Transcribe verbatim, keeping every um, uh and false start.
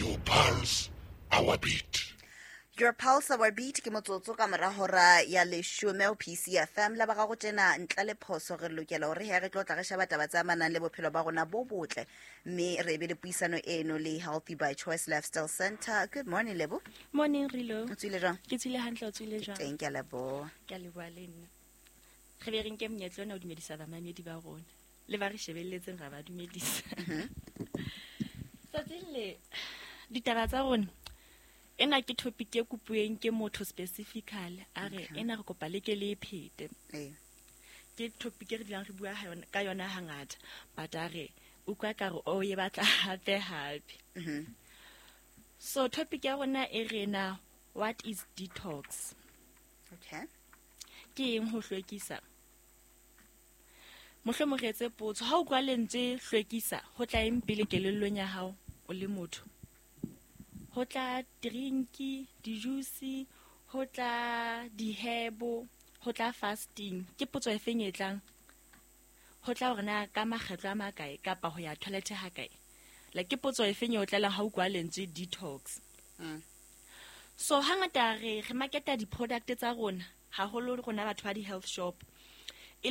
Your pulse, our beat. Your pulse, our beat ke motsotso ka mora hora ya leshome ho P C F M. La ba gago tjena ntle le phoso re lokela hore he re tlo tla re sheba taba tse amanang le bophelo ba rona bo botle, mme re be le puisano eno le Healthy by Choice Lifestyle Center. Good morning, Lebo. Morning, Rilo. O tswile jwang? Ke tswile hantle, o tswile jwang? Teng, ke a leboha. Ke a leboha le nna. Re be re nke monyetla ona ho dumedisa bamamedi ba rona le ba re shebelletseng, ra ba dumedisa. Tsatsing le ditaba tsa rona, ena ke topic e kopuweng ke motho specifically, a re ena re kopa le ke le e phete. Ee. Ke topic e re dulang re bua ha yona- ka yona hangata, but a re utlwa ka re o e batla hape hape. Mhm. So topic ya rona e re na, what is detox? Okay. Ke eng ho hlwekisa? Mohlomong re etse potso: ha o utlwa lentswe hlwekisa, ho tla eng pele kelellong ya hao o le motho? Ho tla drinki, di-juice, ho tla dihebo, ho tla fasting? Ke potso e feng e tlang? Ho tla hore na ka makgetlo a makae kapa ho ya toilet ha kae? Like, ke potso e feng e o tlelang ha o utlwa lentswe detox? Mm. So hangata re re marketa di-product tsa rona haholo, rona batho ba di-health shop.